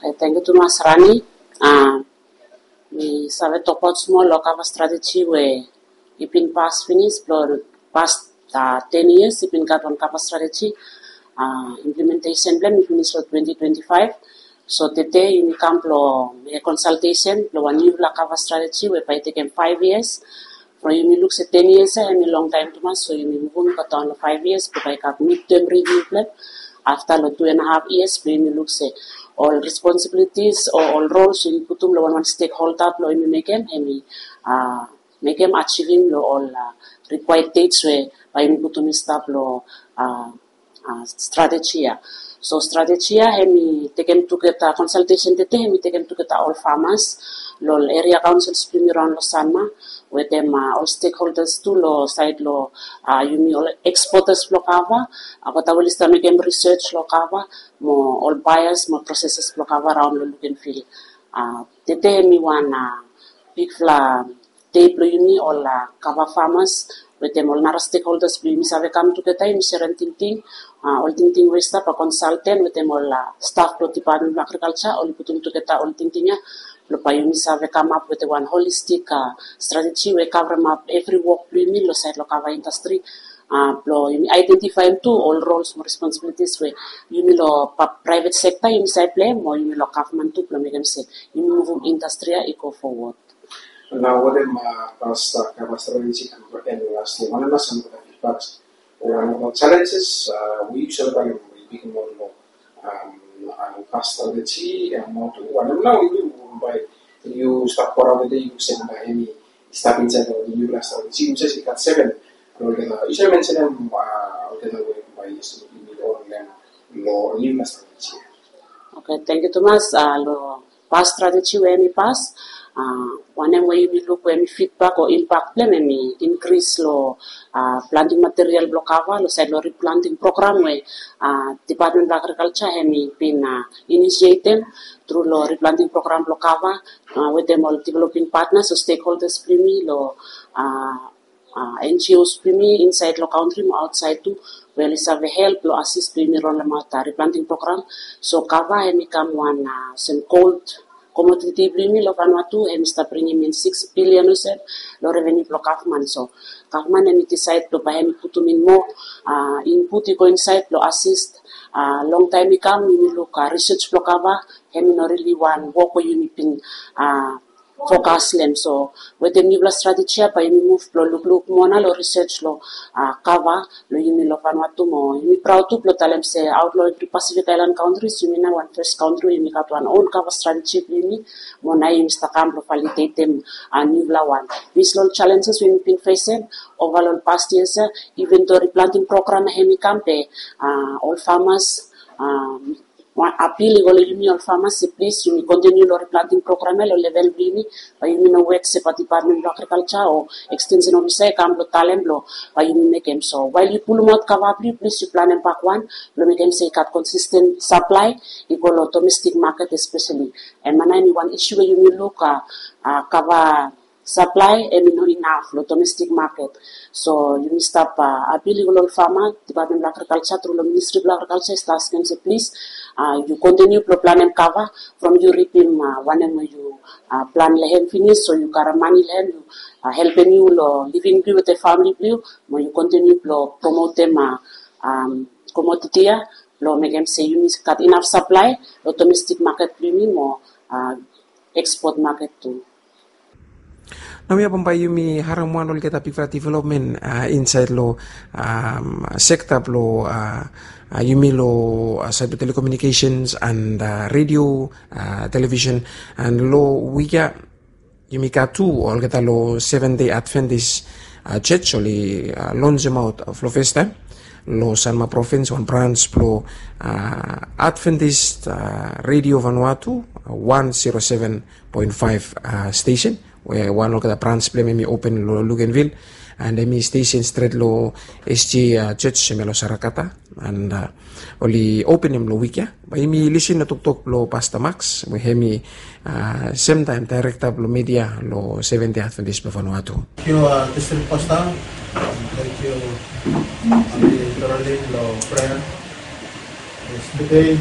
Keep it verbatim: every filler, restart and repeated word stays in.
Tangkiu tumas, Rani. Mi save tokbaot smol long kava strateji we i bin pas finis, blong pas ten yias i bin gat wan kava strateji. Implementesen blong hem i finis long twenty twenty five. So tede yumi kam blong mekem konsaltesen blong wan niufala kava strateji we bae i tekem five yias. From yumi luk se ten yias ya hemi longtaem tumas, so yumi muvum i go daon long five yias blong bae i gat midterm review blong hem. Afta long two and a half yias blong yumi luk se ol responsibilities o ol roles we yumi putum long wanwan stekholda blong yumi mekem, hemi mekem ajivim long ol rikwaed dets we bae yumi putum i stap long strateji ya. So strateji ya hemi tekem tugeta, konsaltesen tede hemi tekem tugeta ol famas long ol eria kaonsils blong yumi raon long Sanma, wetem ol stekholdas tu long saed long yumi ol ekspotas blong kava, olgeta we oli stap mekem risej long kava, mo ol baeas mo proseses blong kava raon long Luganville. Tede hemi wan bigfala dei blong yumi ol kava famas wetem ol nara stekholdas blong yumi save kam tugeta, yumi serem tingting, ol tingting we i stap, ol konsalten wetem ol staf blong Dipatmen blong Agrikalja oli putum tugeta ol tingting ya blong bae yumi save kamap wetem wan holistik strateji we i kavremap evri wok blong yumi long saed long kava indastri, blong yumi aedentifaem tu ol roles mo responsibilities we yumi long praevet sekta yumi save pleim, mo yumi long gavman tu, blong mekem se yumi muvum indastri ya i go fowod. Nao wanem, pas kava strateji i kam long en las yia, wanem nao sam olgeta fidbaks o wanem nao jalenjes we yu save talem we i bigim ol long pas strateji ya, mo tu wanem nao yu bae yu stap goraon tede yu luk se bae hemi i stap insaed long niufala strateji, yu se i gat seven. Olgeta yu save mensenem olgeta we bae yu stap luk long niufala strateji ya. Oke, tangkiu tumas. Long pas strateji we hemi pas, wanem we yumi luk we hemi fidbak o impak blong hem hemi inkris long planting material blong kava long saed long riplanting program we Dipatmen blong Agrikalja hemi bin inisietem tru long riplanting program blong kava wetem ol developing patnas o stekholdas blong yumi long NGOs blong yumi insaed long kantri mo aotsaed tu, we oli save help long asis blong yumi rolemaot riplanting program. So kava hemi kam wan sem gold komoditi blong yumi long Vanuatu, hemi stap bringim in six billion olsem long revenu blong gavman. So gavman hemi disaed blong bae hemi putum in moa input i go insaed blong asis. Longtaem i kam yumi luk risej blong kava hemi no rili wan wok we yumi bin fokas long hem. So wetem niufala strateji ya bae yumi muv blong lukluk moa nao long risej long kava blong yumi long Vanuatu, mo yumi praod tu blong talem se aot long evri Pasifik aelan kantris yumi nao wan fes kantri we yumi gat wan on kava strateji blong yumi, mo nao yumi stap kam blong validetem niufala wan. Based long ol jalenjes we yumi bin fesem ova long ol pas yias ya, iven do riplanting program ya hemi kam, be ol famas, wan apil i go long yumi ol famas se plis yumi kontiniu long riplanting program ya long level blong yumi. Bae yumi no wet se bae Dipatmen blong Agrikalja o ekstensen ofisa i kam blong talem blong bae yumi mekem. So wael yu pulumaot kava blong yu, plis yu planem bakwan blong mekem se i gat konsisten saplae i go long domestik maket espeseli. Hemia nao hemi wan isu we yumi luk, kava saplae hemi no inaf long domestik maket. So yumi stap apil i go long ol fama, Dipatmen blong Agrikalja tru long Ministri blong Agrikalja i stap askem se plis yu kontiniu blong planem kava from yu ripim wanem we yu plan long hem finis, so yu karem mane long hem, yu helpem yu long living blong yu wetem famili blong yu, mo yu kontiniu blong promotem komoditi ya blong mekem se yumi gat inaf saplae long domestik maket blong yumi mo ekspot maket tu. Naoia bambae yumi harem wan olgeta bigfala developmen insaed long sekta blong yumi long saed blong telekomunikesens and redio, televisen, and long wik ya yumi gat tu olgeta long Seventh Day Adventist Church oli lonsemaot blong festaem long Sanma provins wan brans blong Adventist Radio Vanuatu one zero seven point five stesen, we wan olgeta brans blong hem hemi open long Luganville, and hemi stesen stret long SDA Church hemia long Sarakata, and oli openem long wik ya. Bae yumi lisin long toktok blong Pasta Max we hemi semtaem daerekta blong media long Seventh Day Adventist blong Vanuatu. Tangkiu distrik pasta. Tangkiu ami Karolin long prea. Yes, tede